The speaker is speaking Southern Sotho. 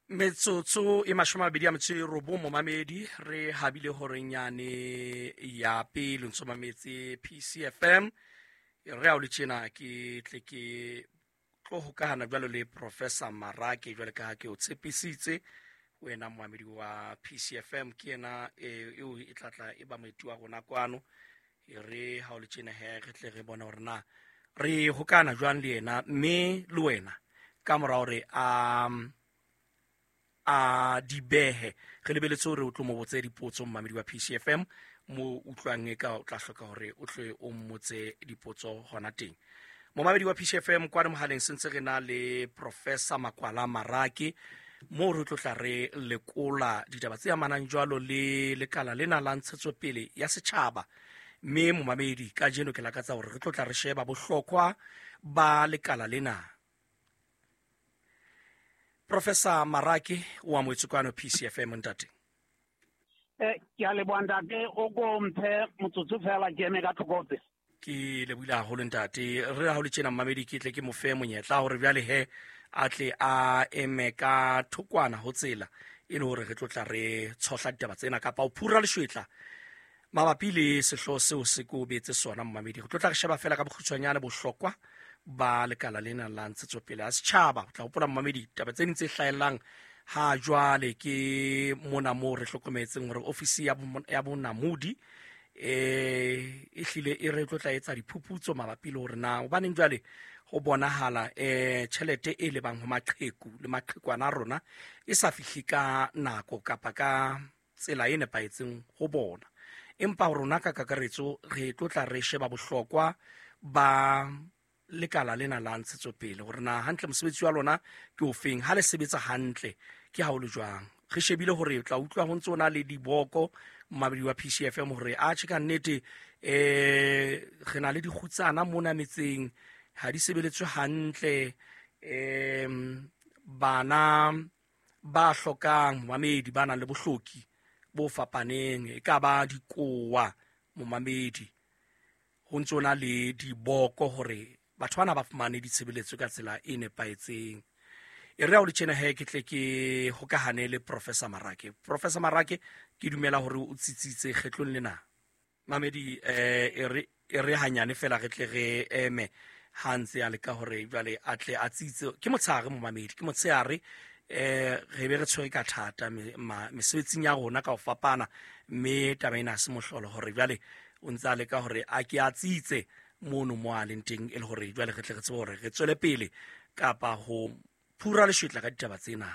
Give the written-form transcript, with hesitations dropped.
Metsotso e 29 momamedi, re habile horenyane ya pele ntso mametse PCFM. Re a o le tjena ke tle ke tlo hokahana jwalo le Professor Marake, jwale ka ha ke o tshepisitse wena moamedi wa PCFM. Ke yena eo e tlatla e ba moeti wa rona kwano. E re ha o le tjena he, re tle re bone hore na re hokana jwang le yena, mme le wena ka mora hore a di behe, re lebeletse hore o tlo mo botse dipotso. Mmamedi wa PCFM mo utlwang e ka o tla hloka hore o tle o mmotse dipotso hona teng. Momamedi wa PCFM, kwane mohaleng sentse re na le Professor Makwala Marake, moo re tlo tla re lekola ditaba tse amanang jwalo le lekala lena la ntshetsopele ya setjhaba. Mme momamedi, kajeno ke lakatsa hore re tlo tla re sheba bohlokwa ba lekala lena. Professor Marake, o amohetswe kwano PCFM, ntate. Ke a leboha, ntate. O ko mphe motsotso fela ke eme ka tlhokotse. Ke lebohile haholo, ntate. Re ha o le tjena, mmamedi, ke tle ke mo fe monyetla hore bjale he a tle a eme ka thokwana ho tsela, e le hore re tlo tla re tshohla ditaba tsena kapa o phura leshwetla mabapi le sehlooho seo se ko betse sona. Mmamedi, re tlo tla re sheba fela ka bokgutshwanyane bohlokwa ba lekala lena la ntshetsopele ya setjhaba. O tla hopola, mmamedi, taba tse ding tse hlahellang ha jwale ke mona moo re hlokometseng hore ofisi ya bonamodi e hlile e re tlo tla etsa diphuputso mabapi le hore na hobaneng jwale ho bonahala tjhelete e lebang ho maqheku le maqhekwana a rona e sa fihle ka nako kapa ka tsela e nepahetseng ho bona. Empa rona ka kakaretso re tlo tla re sheba bohlokwa ba lekala lena la ntshetsopele, hore na hantle mosebetsi wa lona ke ofeng, ha le sebetsa hantle ke ha o le jwang. Re shebile hore o tla utlwa ho ntse o na le diboko, mmabedi wa PCFM, hore a tjhe, ka nnete re na le dikgutsana mona metseng, ha di sebeletswe hantle, bana ba hlokang, momamedi, ba nang le bohloki bo fapaneng, e ka ba dikowa, momamedi, ho ntso na le diboko hore batho bana ba fumane ditshebeletso ka tsela e nepahetseng. E re ha o le tjena he, ke tle ke hokahane le Professor Marake. Professor Marake, ke dumela hore o tsitsitse kgetlong lena. Mamedi, e re hanyane fela re tle re eme ha ntse a leka hore jwale a tle a tsitse. Ke motshehare, momamedi, ke motshehare, re be re tshwere ka thata mesebetsing ya rona ka ho fapana, mme taba ena ha se mohlolo hore jwale o ntse a leka hore a ke a tsitse mono mo a leng teng, e le hore jwale re tle re tsebe hore re tswele pele kapa ho phura leshwetla ka ditaba tsena.